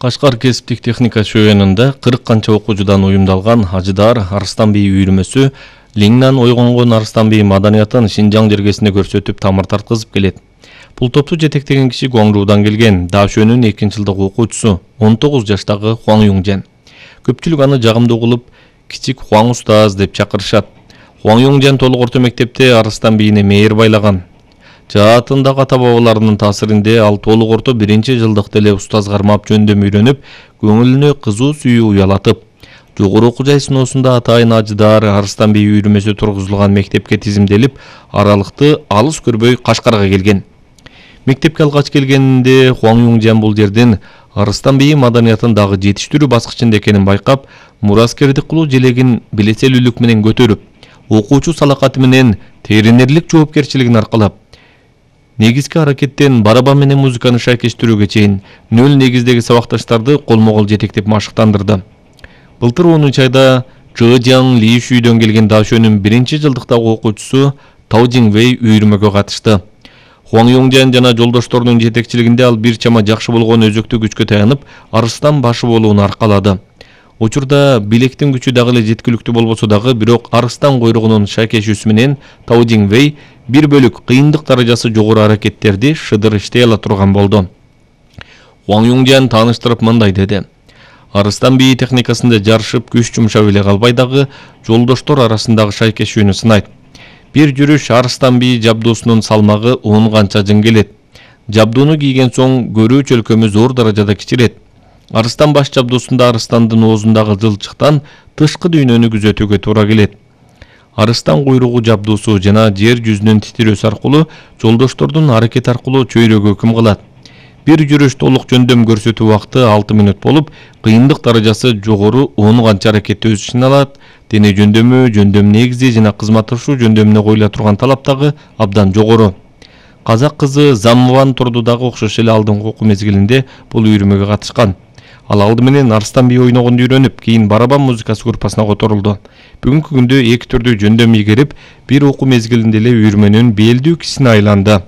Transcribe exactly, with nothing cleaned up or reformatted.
Кашкар кесиптик техника шөөнүндө кырк канча окуучудан уюмдалган Ажыдар Арыстан бий үйүрмөсү Лиңнан ойгонгон Арыстан бий маданиятын Шинжаң жергесинде көрсөтүп тамыр тарткызып келет. Бул топту жетектеген киши Гуаңжуудан келген Даошөнүн экинчи жылдык окуучусу он тогуз жаштагы Хуаң Юңжен. Көпчүлүк аны жагымдуу кылып кичик Хуаң устаз деп чакырышат. Хуаң Юңжен толук орто мектепте Арыстан бийине мээри байлаган. Жаатындагы ата бабаларынын таасиринде ал толук орто биринчи жылдыкта эле устаз кармап жөндөм үйрөнүп, көңүлүнө кызуу сүйүү уялатып, жогору окуу жай сыноосунда атайын Ажыдар Арыстан бий үйүрмөсү тургузулган мектепке тизимделип, аралыкты алыс көрбөй Кашкарга келген. Мектепке алгач келгенинде Хуаң Юңжен бул жердин Арыстан бий маданиятын дагы жетиштирүү баскычында экенин байкап, мураскердик кылуу желегин билеселүүлүк менен көтөрүп, окуучу салакаты менен теринерлик жоопкерчилигин аркалап, негизги аракеттен барабан менен музыканы шайкештирүүгө чейин нөл негиздеги сабакташтарды колмо-кол жетектеп машыктандырды. Былтыр онунчу айда Чжэжяң Лишүйдөн келген Даошөнүн биринчи жылдыктагы окуучусу Тау Жиңвэй үйүрмөгө катышты. Хуаң Юңжен жана жолдошторунун жетекчилигинде ал бир чама жакшы болгон өзөктүү күчкө таянып, Арыстан башы болууну аркалады. Учурда билектин күчү дагы эле жеткиликтүү болбосо дагы, бирок Арыстан койругунун шайкешүүсү менен Тау Жиңвэй бир бөлүк кыйындык даражасы жогору аракеттерди шыдыр иштей ала турган болду. Хуаң Юңжен тааныштырып мындай деди: Арыстан бий техникасында жарышып күч жумшап эле калбай дагы жолдоштор арасындагы шайкешүүнү сынайт. Бир жүрүш Арыстан бий жабдуусунун салмагы он канча жың келет. Жабдууну кийген соң көрүү чөлкөмү зор даражада кичирет. Арыстан баш жабдуусунда арыстандын оозундагы жылчыктан тышкы дүйнөнү күзөтүүгө туура келет. Арыстан куйругу жабдуусу жана жер жүзүнүн титирөөсү аркылуу жолдоштордун аракети аркылуу чөйрөгө өкүм кылат. Бир жүрүш толук жөндөм көрсөтүү убакыты алты мүнөт болуп, кыйындык даражасы жогору он канча аракетти өз ичине алат. Дене жөндөмү, жөндөм негизи жана кызматташуу жөндөмүнө коюла турган талап дагы абдан жогору. Казак кызы Замман Турду дагы окшош эле алдыңкы окуу мезгилинде бул үйүрмөгө катышкан. Ал алды менен Арыстан бий ойногонду үйрөнүп, кийин барабан музыкасы группасына которулду. Бүгүнкү күндө эки түрдүү жөндөм ийгерип, бир окуу мезгилинде эле үйүрмөнүн белдүү кишисине айланды.